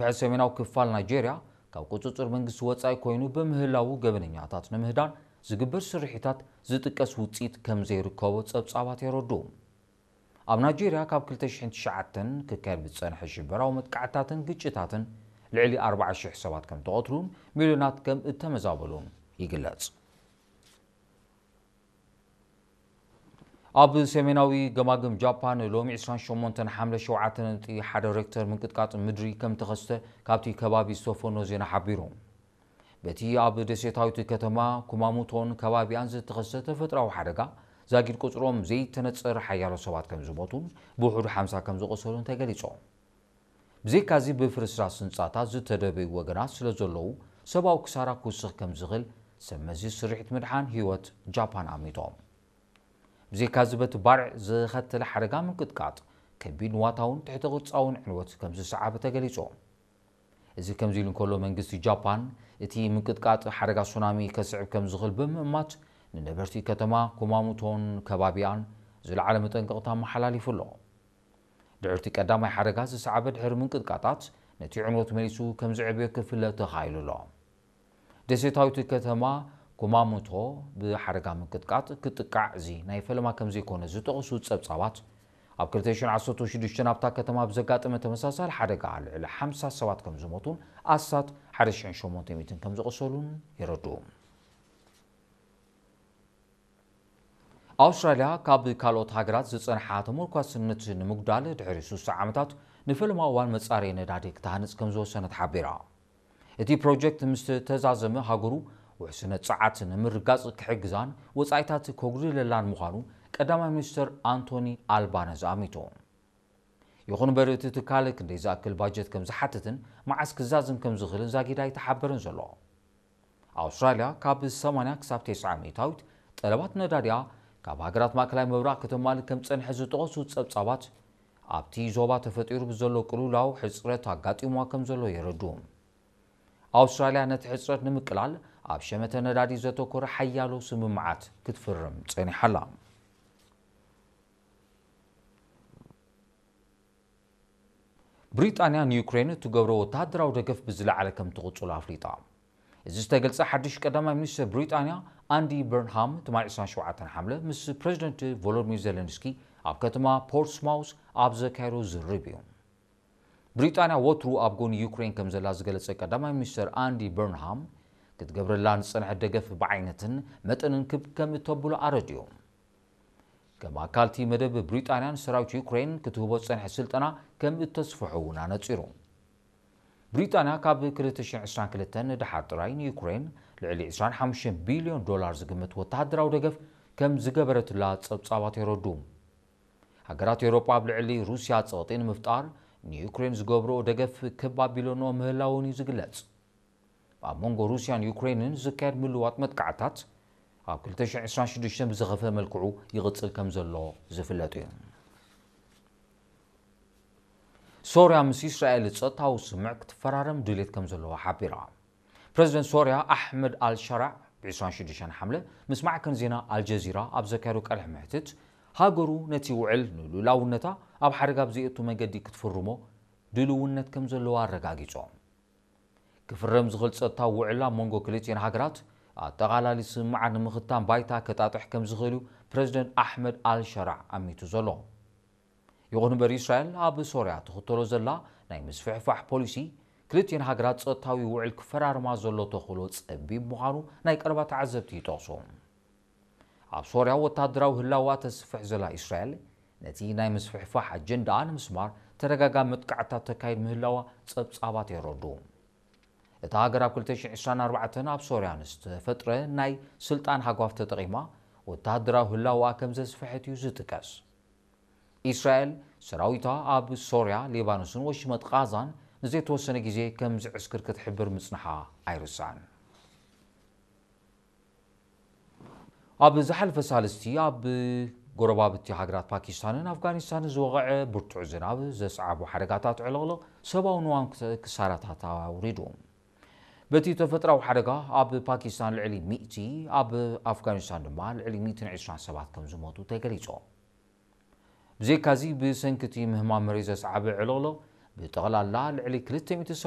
ብሕር ሰሜናዊ ክፋል ናይጄርያ ካብ ቁጽጽር መንግስቲ ወጻኢ ኮይኑ ብምህላዉ፣ ገበነኛታት ንምህዳን ዝግበር ስርሒታት ዝጥቀስ ውጽኢት ከም ዘይርከቦ ጸብጻባት የረድኡ። ኣብ ናይጄርያ ካብ ክልተ ሽሕን ትሽዓተን ክካየድ ብዝጸንሐ ሽበራዊ መጥቃዕትታትን ግጭታትን ልዕሊ ኣርባዓ ሽሕ ሰባት ከም ተቐትሉን ሚልዮናት ከም እተመዛበሉን ይግለጽ። ኣብ ሰሜናዊ ገማግም ጃፓን ሎሚ ዕስራን ሸሞንተን ሓምለ ሸውዓተ ነጥቢ ሓደ ሬክተር ምንቅጥቃጥ ምድሪ ከም ተኸስተ ካብቲ ከባቢ ዝተፈኖ ዜና ሓቢሩ። በቲ ኣብ ደሴታዊት ከተማ ኩማሙቶን ከባቢኣን ዝተኸስተ ተፈጥሮኣዊ ሓደጋ፣ ዛጊድ ቁጽሮም ዘይተነጸረ ሓያሎ ሰባት ከም ዝሞቱን ብውሑዱ ሓምሳ ከም ዝቖሰሉን ተገሊጹ። ብዘይካዚ፣ ብፍርስራስ ህንጻታት ዝተደበዩ ወገናት ስለ ዘለዉ፣ ሰብኣዊ ክሳራ ክውስኽ ከም ዝኽእል ሰብ መዚ ስርሒት ምድሓን ህይወት ጃፓን ኣሚቶም። ብዘይካዚ፣ በቲ ባርዕ ዝኸተለ ሓደጋ ምንቅጥቃጥ፣ ከቢድ ንዋታውን ትሕተ ቅርጻውን ዕንወት ከም ዝሰዓበ ተገሊጹ። እዚ ከምዚ ኢሉ እንከሎ፣ መንግስቲ ጃፓን እቲ ምንቅጥቃጥ ሓደጋ ሱናሚ ከስዕብ ከም ዝኽእል ብምእማት፣ ንነበርቲ ከተማ ኩማሙቶን ከባቢኣን ዝለዓለ መጠንቀቕታ ኣመሓላሊፉ ኣሎ። ድሕርቲ ቀዳማይ ሓደጋ ዝሰዓበ ድሕሪ ምንቅጥቃጣት፣ ነቲ ዕንወት መሊሱ ከም ዝዕብዮ ክፍለጥ ተኻኢሉ ኣሎ። ደሴታዊት ከተማ ኩማሙቶ ብሓደጋ ምንቅጥቃጥ ክትጥቃዕ እዚ ናይ ፈለማ ከም ዘይኮነ ዝጠቕሱ ጸብጻባት፣ ኣብ ክልተ ሽሕን ዓሰርተ ሽዱሽተን ኣብታ ከተማ ብዘጋጠመ ተመሳሳሊ ሓደጋ ልዕሊ ሓምሳ ሰባት ከም ዝሞቱን ኣስታት ሓደ ሽሕን ሸሞንተ ሚእትን ከም ዝቖሰሉን የረድኡ። ኣውስትራልያ ካብ ካልኦት ሃገራት ዝጸንሓ ተመርኳስነት ንምጉዳል ድሕሪ ሱሳ ዓመታት ንፈለማ እዋን መጻረዪ ነዳዲ ክትሃንጽ ከም ዝወሰነት ሓቢራ። እቲ ፕሮጀክት ምስ ተዛዘመ፣ ሃገሩ ውሕስነት ጸዓት ንምርጋጽ ክሕግዛን ወጻኢታት ከጉድለላን ምዃኑ ቀዳማይ ሚኒስተር ኣንቶኒ ኣልባነዝ ኣሚቱ። ይኹን እምበር፣ እቲ ትካል ክንደይ ዝኣክል ባጀት ከም ዝሓትትን መዓስ ክዛዝም ከም ዝኽእልን ዛጊድ ኣይተሓበረን ዘሎ። ኣውስትራልያ ካብ ሰማንያ ክሳብ ተስዓ ሚእታዊት ጠለባት ነዳዲኣ ካብ ሃገራት ማእከላይ ምብራቕ ከተማልእ ከም ዝጸንሐ ዝጠቐሱ ጸብጻባት፣ ኣብቲ ዞባ ተፈጢሩ ብዘሎ ቅልውላው ሕጽረት ኣጋጢምዋ ከም ዘሎ የረድኡ። ኣውስትራልያ ነቲ ሕጽረት ንምቅላል ኣብ ሸመተ ነዳዲ ዘተኮረ ሓያሎ ስምምዓት ክትፍርም ጸኒሓ ኣላ። ብሪጣንያ ንዩክሬን እትገብሮ ወተሃደራዊ ደገፍ ብዝለዓለ ከም ትቕጽሎ ኣፍሊጣ። እዚ ዝተገልጸ ሓድሽ ቀዳማይ ሚኒስትር ብሪጣንያ ኣንዲ በርንሃም ትማሊ ዕስራን ሸውዓተን ሓምለ ምስ ፕረዚደንት ቮሎዲሚር ዜለንስኪ ኣብ ከተማ ፖርትስማውስ ኣብ ዘካየዶ ዝርርብ እዩ። ብሪጣንያ ወትሩ ኣብ ጎኒ ዩክሬን ከም ዘላ ዝገለጸ ቀዳማይ ሚኒስትር ኣንዲ በርንሃም፣ ክትገብረላ ዝጸንሐት ደገፍ ብዓይነትን መጠንን ክብ ከም እተብሎ ኣረዲኡ። ከም ኣካልቲ መደብ ብሪጣንያ ንሰራዊት ዩክሬን ክትህቦ ዝጸንሐ ስልጠና ከም እተስፍሖ እውን ኣነጺሩ። ብሪጣንያ ካብ ክልተ ሽሕን ዕስራን ክልተን ንደሓር ጥራይ ንዩክሬን ልዕሊ ዕስራን ሓሙሽተን ቢልዮን ዶላር ዝግመት ወተሃደራዊ ደገፍ ከም ዝገበረትላ ጸብጻባት የረድኡ። ሃገራት ኤውሮጳ ኣብ ልዕሊ ሩስያ ጸቕጢ ንምፍጣር ንዩክሬን ዝገብርኦ ደገፍ ክብ ኣቢለንኦ ምህላወን እዩ ዝግለጽ። ኣብ መንጎ ሩስያን ዩክሬንን ዝካየድ ምልዋጥ መጥቃዕታት ኣብ ክልተ ሽሕን ዕስራን ሽዱሽተን ብዝኸፍአ መልክዑ ይቕጽል ከም ዘሎ ዝፍለጥ እዩ። ሶርያ ምስ እስራኤል ጸጥታዊ ስምምዕ ክትፈራረም ድሌት ከም ዘለዋ ሓቢራ። ፕረዚደንት ሶርያ ኣሕመድ ኣልሸራዕ ብ ዕስራን ሽዱሽተን ሓምለ ምስ ማዕከን ዜና ኣልጀዚራ ኣብ ዘካየዶ ቃለ መሕትት፣ ሃገሩ ነቲ ውዕል ንልኡላውነታ ኣብ ሓደጋ ብዘየእቱ መንገዲ ክትፍርሞ ድልውነት ከም ዘለዋ ኣረጋጊጾም። ክፍረም ዝኽእል ጸጥታዊ ውዕል ኣብ መንጎ ክልቲኤን ሃገራት ኣጠቓላሊ ስምምዓት ንምኽታም ባይታ ከጣጥሕ ከም ዝኽእል እዩ ፕረዚደንት ኣሕመድ ኣልሸራዕ ኣሚቱ ዘሎ። ይኹን እምበር፣ እስራኤል ኣብ ሶርያ ትኽተሎ ዘላ ናይ ምስፍሕፋሕ ፖሊሲ፣ ክልቲኤን ሃገራት ጸጥታዊ ውዕል ክፈራርማ ዘሎ ተኽእሎ ጸቢብ ምዃኑ ናይ ቀረባ ተዓዘብቲ ይጠቕሱ። ኣብ ሶርያ ወተሃደራዊ ህላዋ ተስፍሕ ዘላ እስራኤል፣ ነቲ ናይ ምስፍሕፋሕ ኣጀንዳኣ ንምስማር ተደጋጋሚ መጥቃዕትታት ተካይድ ምህላዋ ጸብጻባት የረድኡ። እታ ሃገር ኣብ ክልተ ሽሕን ዕስራን ኣርባዕተን ኣብ ሶርያ ንዝተፈጥረ ናይ ስልጣን ሃጓፍ ተጠቒማ ወተሃደራዊ ህላወኣ ከም ዘስፍሐት እዩ ዝጥቀስ። እስራኤል ሰራዊታ ኣብ ሶርያ፣ ሊባኖስን ወሽመጥ ቃዛን ንዘይተወሰነ ግዜ ከም ዝዕስክር ክትሕብር ምጽንሓ ኣይርሳዕን። ኣብ ዝሓለፈ ሳልስቲ ኣብ ጎረባብቲ ሃገራት ፓኪስታንን ኣፍጋኒስታንን ዝወቕዐ ብርቱዕ ዝናብ ዘስዓቦ ሓደጋታት ዕልቕልቕ ሰብኣዊ ንዋን ክሳራታት ኣውሪዱ። በቲ ተፈጥራዊ ሓደጋ ኣብ ፓኪስታን ልዕሊ ሚእቲ፣ ኣብ ኣፍጋኒስታን ድማ ልዕሊ ሚእትን ዕስራን ሰባት ከም ዝሞቱ ተገሊጹ። ብዘይካዚ፣ ብሰንኪ እቲ ምህማም መሬት ዘስዓበ ዕልቕልቕ ብጠቕላላ ልዕሊ ክልተ ሚእቲ ሰባት